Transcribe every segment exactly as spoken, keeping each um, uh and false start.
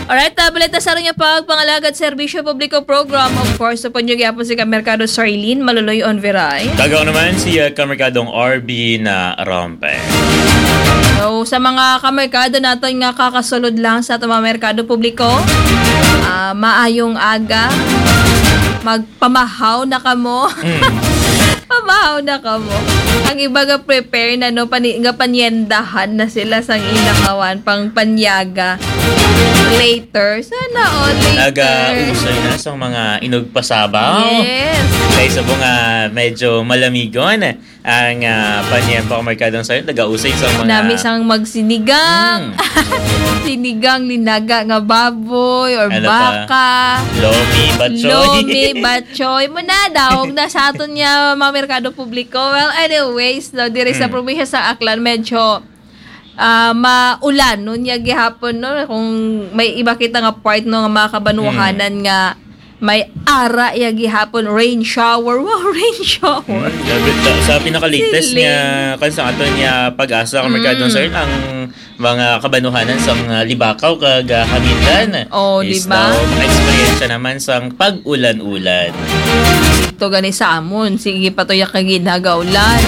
Alright, ah, balita sa aron nga pagpangalagad serbisyo publiko program. Of course, upod nyo gyapon si Kamerkado Sarlene Maluloy Onveray. Kag ako naman si, ah, Kamerkadong R B na Rompe. So, sa mga kamerkado naton nga kakasulod lang sa atong mga merkado publiko, ah, maayong aga. Magpamahaw na kamo. Mm. Pamahaw na kamo. Ang iba nga prepare na, no, pani-, nga panyendahan na sila sang ilang awan, pang panyaga. Later. Sana all later. Nagausay na sa mga inugpasabaw. Yes. Kay sa mga medyo malamigon, ang, ah, panyan pa merkadong sayo, nagausay sa mga Nami sang magsinigang. Mm. Sinigang, linaga nga baboy or Ano pa? baka. Lomi, batchoy. Lomi, batchoy. Mo na, daog na sa aton niya, mga merkado publiko. Well, anyways, no, diri sa Mm. probinsya sa Aklan, medyo, ah, maulanon niya gihapon, no? Kung may iba kita nga part, no, nga mga kabanuhanan Mm. nga may ara ya gihapon, rain shower. Wow, rain shower. Mm, grabe ta. Sa pinaka-latest Siling. nga, kan sa aton nga pag-asa, ang merkado, Mm. sir, ang mga kabanuhanan sa mga Libakaw kag, ah, Hamindan Oh, is di ba? daw maka-experience naman sang pag-ulan-ulan. Ito gani sa amon, sige pa to ya kag ginagaulan.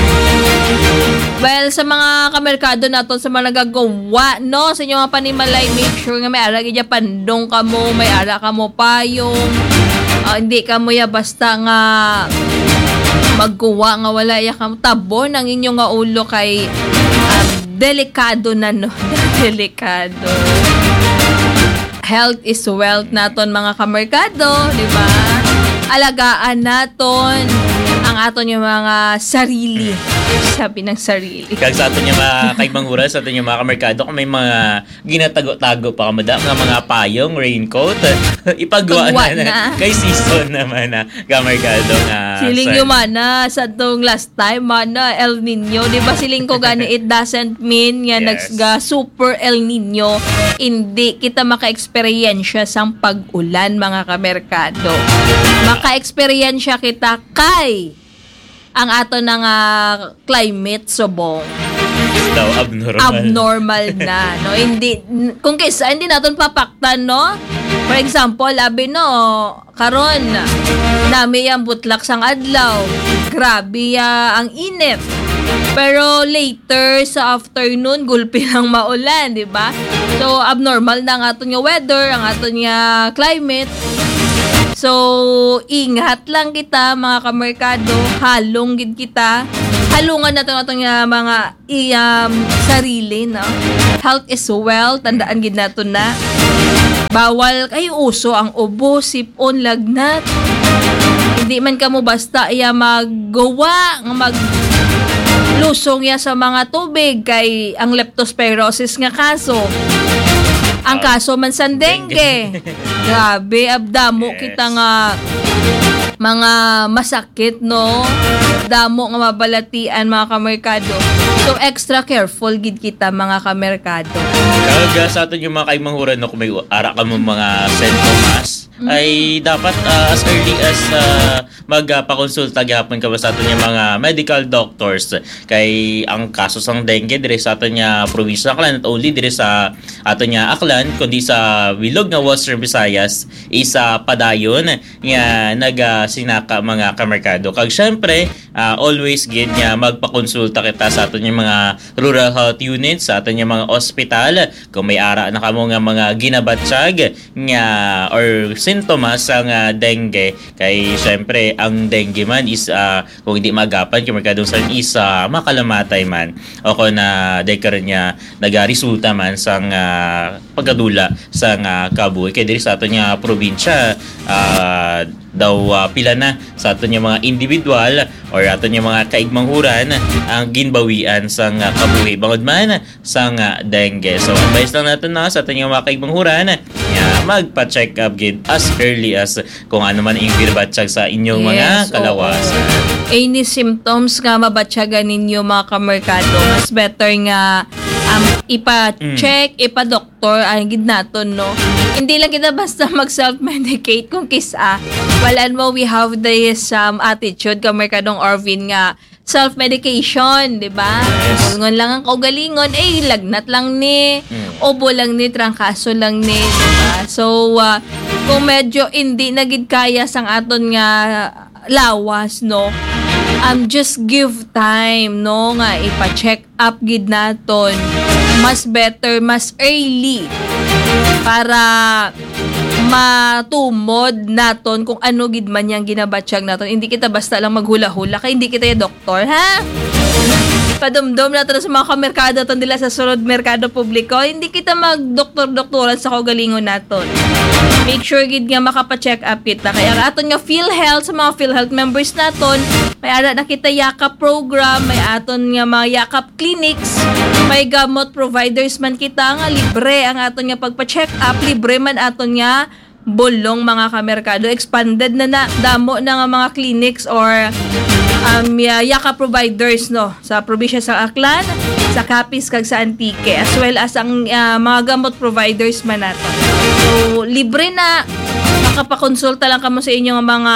Well, sa mga kamerkado naton, sa mga nagagawa, no, sa inyong mga panimalay, make sure nga may ara gid ya pandong kamo, may ara kamo payong. Ah, hindi kamo ya basta nga magkuha nga wala ya kamo tabon ang inyo nga ulo kay, ah, delikado na, no? Delikado. Health is wealth naton, mga kamerkado, di ba? Alagaan naton ang aton yung mga sarili. Mm. Sabi ng sarili. Kag sa aton yung mga kaigmang oras, sa aton yung mga kamerkado, kung may mga ginatago-tago pa kamo da, nga mga payong, raincoat, ipagwa Pagwa na, na. na. Kay season naman na, kamerkado nga Siling sa yung mana, sa tong last time, mana, El Nino. Di ba siling ko gani, it doesn't mean nga Yes. nagsga super El Nino. Hindi kita maka-eksperyensya sang pag-ulan, mga kamerkado. Maka-eksperyensya kita kay ang ato na nga climate subong Daw abnormal. abnormal na, no? Hindi, n-, kung kaysa, hindi naton papaktan, no? For example, abi, no, karon, nami ang butlak sang adlaw. Grabe ya ang init. Pero later sa afternoon, gulpi lang maulan, di ba? So, abnormal na ang aton nga weather, ang aton nga climate. So, ingat lang kita, mga kamerkado. Halong gid kita. Halungan naton aton nga mga i-, um, sarili, no? Health is wealth. Tandaan gid naton na. Bawal kay uso ang ubo, sip-on, lagnat. Hindi man kamo basta ya magguwa nga maglusong ya sa mga tubig kay ang leptospirosis nga kaso. Ang Ah, kaso man sang dengue. dengue. Grabe, abdamo Yes. kita nga mga masakit, no? Damo nga mabalatian, mga kamerkado. So, extra careful gid kita, mga kamerkado. Kag, ah, sa aton yung mga kaimanghuran, no, kung may ara ka mo mga sintomas, Mm. ay dapat, ah, as early as, ah, mag, ah, pakonsulta gihapon ka sa aton yung mga medical doctors. Kay ang kaso sang dengue diri sa aton nga probinsya, not only diri sa aton nga Aklan, kundi sa bilog nga Western Visayas, isa padayon nga nagasinaka, mga kamerkado. Kag syempre, ah, always gid nga magpakonsulta kita sa aton nga mga rural health units, sa aton nga mga ospital. Kung may ara na kamo nga mga ginabatyag nga or sintomas sa nga dengue, kay syempre ang dengue man is, ah, kung hindi maagapan, kamerkado, sa isa makalamatay man o kung na dahil karon nga nagaresulta man sang, ah, pagkadula sang, ah, kabuhi. Kay diri sa aton nga probinsya, ah, daw, ah, pila na sa aton nga mga individual or aton nga mga kaigmanghuran ang ginbawian sang, ah, kabuhi bangod man sang, ah, dengue. So, advice lang naton na sa aton nga mga kaigmanghuran nga magpa-check up gid as early as kung ano man ang ginabatyag sa inyong mga Yes, oo. kalawasan. Any symptoms nga mabatyagan ninyo, mga kamerkado, mas better nga, ipa-check, ipa-doktor, ang gid naton, no? Hindi lang kita basta mag-self-medicate kung kisa. Wala mo, we have this, um, attitude, Kamerkadong Arvin, nga self-medication, di ba? Yes. Ngon lang ang kaugalingon, eh, lagnat lang ni, Mm. ubo lang ni, trangkaso lang ni, di ba? So, ah, kung medyo hindi na gid kaya sang aton nga lawas, no? Um, just give time, no, nga ipa-check up gid naton. Mas better, mas early para matumod naton kung ano gid man yang ginabatyag naton. Hindi kita basta lang maghula-hula kay hindi kita ya doktor, ha? Padumdom naton sa mga kamerkado naton dila sa sulod merkado publiko. Hindi kita magdoktor-doktoran sa kaugalingon naton. Make sure gid nga makapa-check up kita. Kaya ang aton nga PhilHealth, sa mga PhilHealth members naton, may ara na kita Yakap program, may aton nga mga Yakap clinics, may gamot providers man kita nga libre ang aton nga pagpa-check up, libre man aton nga bulong, mga kamerkado. Expanded na na, damo na nga mga clinics or, um, ya-, Yakap providers, no, sa probinsya sa Aklan, sa Capiz, kag sa Antique, as well as ang, ah, mga gamot providers man nato. So, libre na, makapakonsulta lang kamo sa inyo nga mga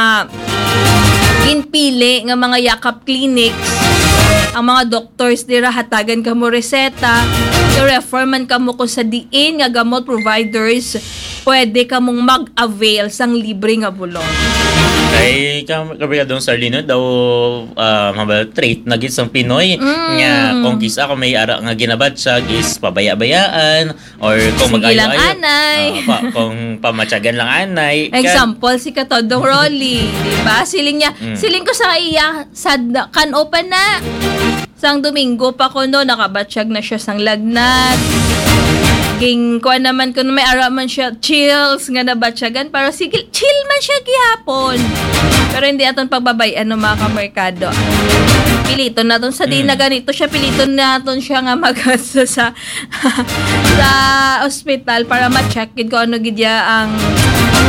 ginpili nga mga Yakap clinics. Ang mga doctors dira, hatagan kamo reseta, i-refer man kamo kung sa diin nga gamot providers pwede kamong mag-avail sang libre nga bulong. Kay kam-, Kabrigado Sarlino daw, ah, mabal trait na gid sang Pinoy Mm. nga kung kisa kung may ara nga ginabatyag is pabaya-bayaan or kung Sige lang, mag-ayo-ayo, anay. ah, pa, kung pamatyagan lang anay, kan- Example, si Katodong Rolly, di ba? Siling niya, Mm. siling ko sa iya, sad na, kan-o pa na. Sang Domingo pa ko, no, nakabatyag na siya sang lagnat. Ging, kuan naman ko, may ara man siya, chills nga nabatyagan. Pero sige, chill man siya gihapon. Pero hindi aton pagbabayan, no, mga kamerkado. Piliton naton sa di Mm. na ganito siya, piliton naton siya nga mag sa, sa, sa ospital para ma-check gid kung ano gid ya ang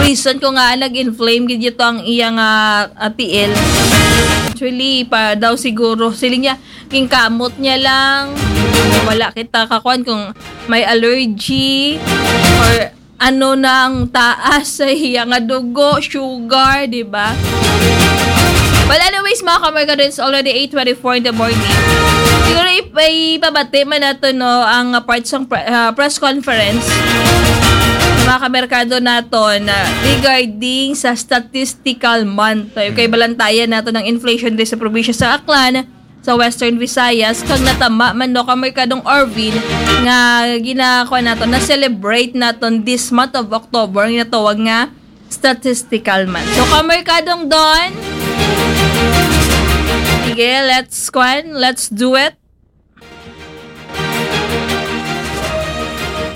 reason kung nga nag-inflame gid ito ang iya nga, ah, tiil. Actually, pa daw siguro, siling niya, ginkamot niya lang. Wala kita kakuan kung may allergy or ano na ang taas sa iya nga dugo, sugar, di ba? Well, anyways, mga kamerkado, it's already eight twenty-four in the morning. Siguro ip-, ipabati man nato, no, ang, ah, part sang pre-, ah, press conference sa mga kamerkado naton na regarding sa statistical month. Tayo kay Mm. balantayan nato ng inflation rate sa probinsya sa Aklan, sa Western Visayas, kag natama man, no, kamerkadong Arvin, nga ginakuha naton, na-celebrate naton this month of October, ang ginatawag nga statistical month. So, kamerkadong Don, sige, let's, kwan, let's do it.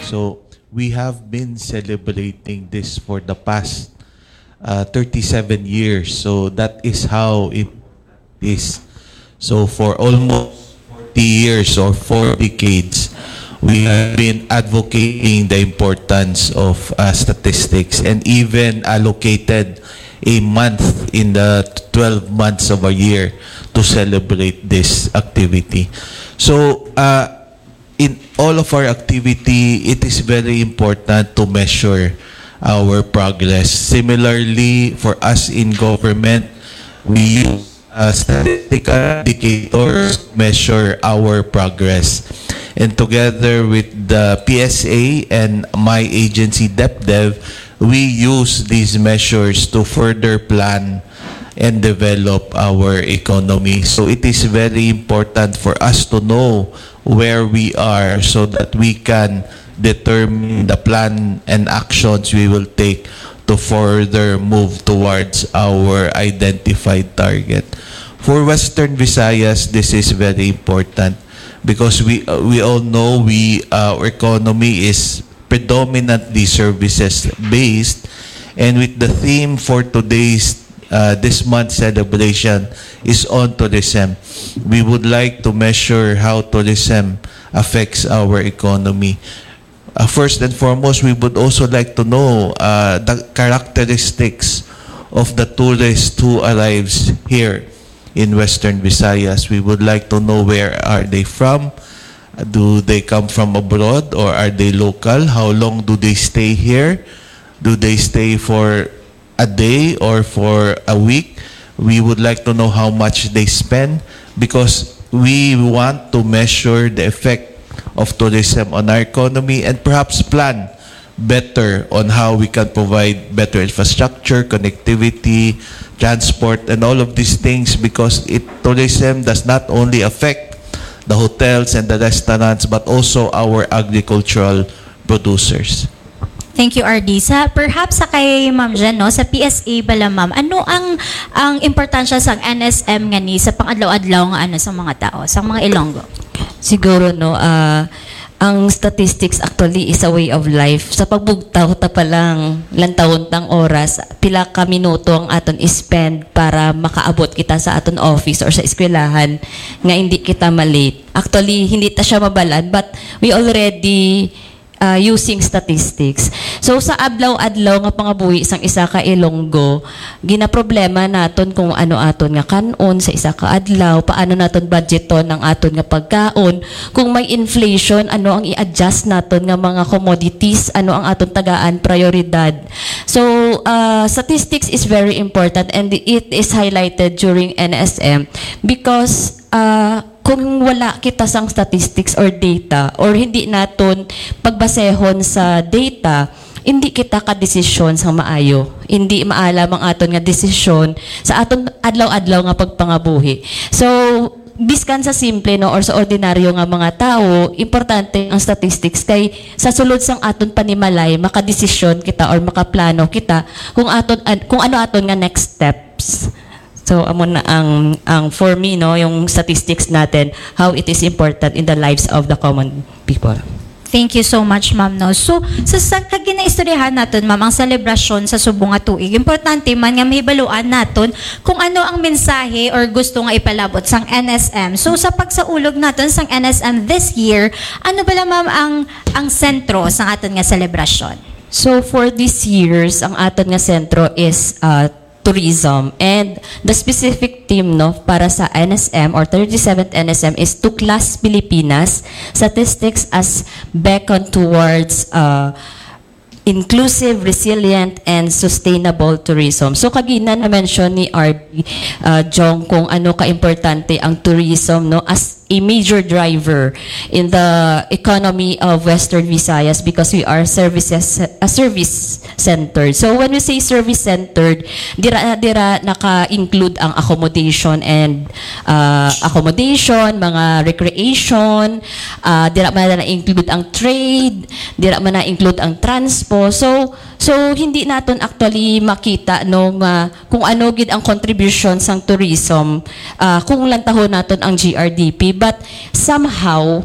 So, we have been celebrating this for the past, uh, thirty-seven years. So, that is how it is. So, for almost forty years or four decades, we have been advocating the importance of, uh, statistics and even allocated a month in the twelve months of a year to celebrate this activity. So, uh, in all of our activity, it is very important to measure our progress. Similarly, for us in government, we use, uh, statistical indicators to measure our progress. And together with the P S A and my agency, DepDev, we use these measures to further plan and develop our economy. So it is very important for us to know where we are so that we can determine the plan and actions we will take to further move towards our identified target. For Western Visayas, this is very important because we, uh, we all know we, uh, our economy is predominantly services based, and with the theme for today's, uh, this month's celebration is on tourism, we would like to measure how tourism affects our economy. Uh, first and foremost, we would also like to know, uh, the characteristics of the tourist who arrives here in Western Visayas. We would like to know where are they from, Do they come from abroad or are they local? How long do they stay here? Do they stay for a day or for a week? We would like to know how much they spend because we want to measure the effect of tourism on our economy and perhaps plan better on how we can provide better infrastructure, connectivity, transport, and all of these things because it tourism does not only affect the hotels and the restaurants but also our agricultural producers. Thank you, R D. Sa, perhaps sa kay Ma'am Jen, no, sa P S A bala, Ma'am, ano ang ang importansya sang N S M ngani sa pang-adlaw-adlaw nga ano sa mga tao, sa mga Ilonggo? Siguro, no, ah, ang statistics actually is a way of life. Sa pagbugtaw ta pa lang, lantawon tang oras, pila ka minuto ang aton spend para makaabot kita sa aton office or sa eskwelahan nga hindi kita malate. Actually, hindi ta siya mabalan, but we already uh, using statistics. So sa adlaw-adlaw nga pangabuhi sang isa ka Ilonggo, ginaproblema naton kung ano aton nga kan-on sa isa ka adlaw, paano naton budgeton ang aton nga pagkaon, kung may inflation, ano ang i-adjust naton nga mga commodities, ano ang aton tagaan prioridad. So uh, statistics is very important and it is highlighted during N S M because uh, kung wala kita sang statistics or data or hindi naton pagbasehon sa data, hindi kita kadesisyon sang maayo. Hindi maalam ang aton nga desisyon sa aton adlaw-adlaw nga pagpangabuhi. So, biskan sa simple, no, or sa ordinaryo nga mga tawo, importante ang statistics kay sa sulod sang aton panimalay makadesisyon kita or makaplano kita kung aton an- kung ano aton nga next steps. So amo na ang ang for me, no, yung statistics natin, how it is important in the lives of the common people. Thank you so much, ma'am, no. So sa, sa kag ginaistoryahan naton, ma'am, ang selebrasyon sa subong nga tuig, importante man nga mahibaluan naton kung ano ang mensahe or gusto nga ipalabot sang N S M. So sa pagsaulog naton sang N S M this year, ano bala, ma'am, ang ang sentro sang aton nga selebrasyon? So for this year's, ang aton nga sentro is uh, tourism. And the specific theme, no, para sa N S M or thirty-seventh N S M is Tuklas Pilipinas, Statistics as Beacon Towards uh, Inclusive, Resilient, and Sustainable Tourism. So kagina na-mention ni R D uh, Jong kung ano ka-importante ang tourism, no, as a major driver in the economy of Western Visayas because we are services a service centered. So when we say service centered, dira dira naka-include ang accommodation and uh, accommodation, mga recreation, uh, dira man na-include ang trade, dira man na-include ang transpo. So so hindi naton actually makita, no, nga kung ano gid ang contribution sang tourism uh, kung lantahon naton ang G R D P, but somehow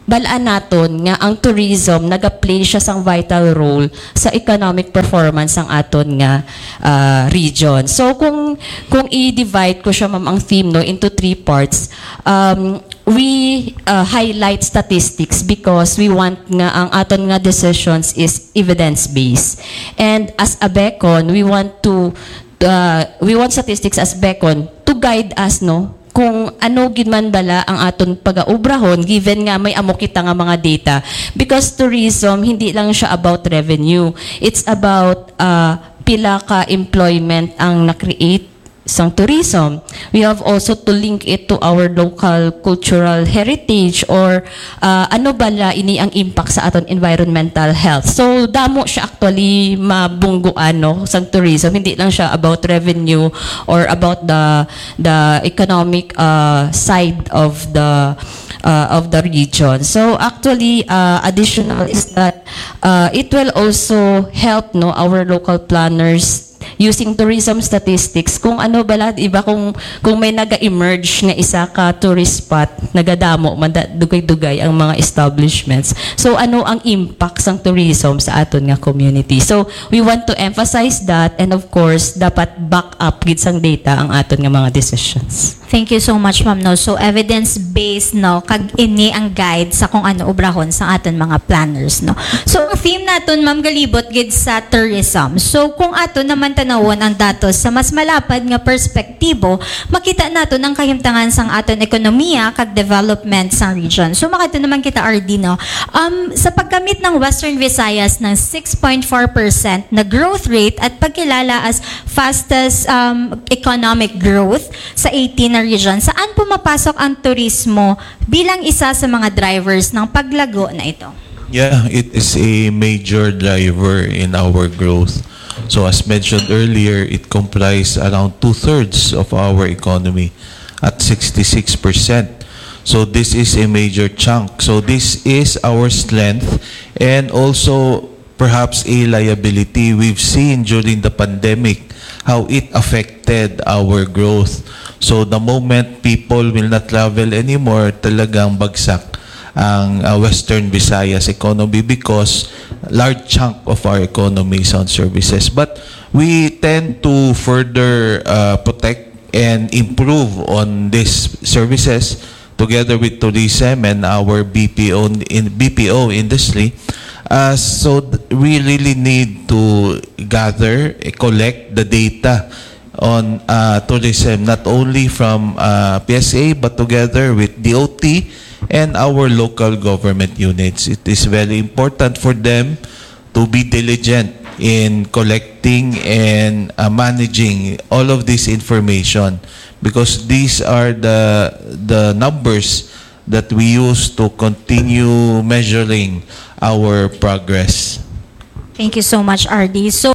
balaan naton nga ang tourism nagaplay siya sang vital role sa economic performance sang aton nga uh, region. So kung kung i-divide ko siya, ma'am, ang theme, no, into three parts, um, we uh, highlight statistics because we want nga ang aton nga decisions is evidence based, and as a beacon we want to uh, we want statistics as beacon to guide us, no, kung ano gid man bala ang aton pagaubrahon given nga may amo kita nga mga data, because tourism hindi lang siya about revenue, it's about uh, pila ka employment ang na-create sang tourism. We have also to link it to our local cultural heritage or uh, ano bala ini ang impact sa aton environmental health. So damo siya actually mabungguan, no, sang tourism. Hindi lang siya about revenue or about the the economic uh, side of the uh, of the region. So actually uh, additional is that uh, it will also help, no, our local planners using tourism statistics kung ano bala, iba, kung kung may naga-emerge nga isa ka tourist spot, nagadamo man da, dugay-dugay ang mga establishments. So ano ang impact sang tourism sa aton nga community? So we want to emphasize that, and of course dapat back up gid sang data ang aton nga mga decisions. Thank you so much, ma'am. No? So, evidence-based, no? Kag ini ang guide sa kung ano obrahon sa aton mga planners, no? So, ang theme naton, ma'am, galibot gid sa tourism. So, kung ato naman tanawon ang datos sa mas malapad nga perspektibo, makita naton ang kahimtangan sang aton ekonomiya kag development sang region. So, makadto naman kita, R D, no? Um, sa pagkamit ng Western Visayas ng six point four percent na growth rate at pagkilala as fastest, um, economic growth sa eighteen na region, saan pumapasok ang turismo bilang isa sa mga drivers ng paglago na ito? Yeah, it is a major driver in our growth. So as mentioned earlier, it comprised around two-thirds of our economy at sixty-six percent. So this is a major chunk. So this is our strength and also perhaps a liability. We've seen during the pandemic how it affected our growth. So the moment people will not travel anymore, talagang bagsak ang uh, Western Visayas economy because large chunk of our economy is on services. But we tend to further uh, protect and improve on these services together with tourism and our B P O in B P O industry. Uh, so th- we really need to gather, eh, collect the data on uh, tourism, not only from uh, P S A but together with D O T and our local government units. It is very important for them to be diligent in collecting and uh, managing all of this information because these are the the numbers that we use to continue measuring our progress. Thank you so much, R D. So,